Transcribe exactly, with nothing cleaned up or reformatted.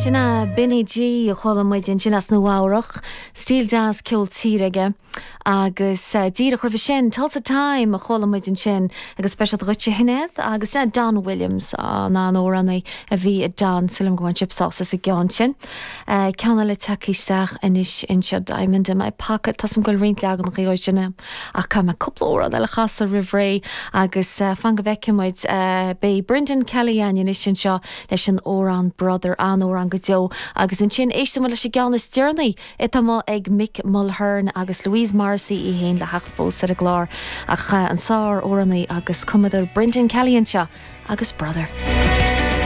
Sin é Benny G a chuala muid ansin as Nua-Eabhrac, stíl deas ceol tíre aige agus uh, díreach roimhe sin Tulsa Time a chuala muid ansin agus speisialta dhuit a Shinéad agus uh, Don Williams an an-amhránaí a bhí i Don Sulim go chip sása sa gceann sin. Uh, Ceann eile tagtha isteach anois anseo Diamond in my pocket Tá go roinnt leagan chuig sinna ach tá mé cúpla amhrán eile a chasadh roimh ré agus uh, fan go bhfeicfidh muid uh, beidh Brendan Kelly anois anseo leis an amhrán Brother an-amhrán go deo agus ansin éistfidh leis an gceann is deireanaí atá ag Mick Mulhern agus Louise Morrissey í féin le theacht fós ar an gclár ach an sár-amhránaí agus cumadóir Brendan Kelly anseo agus Brother.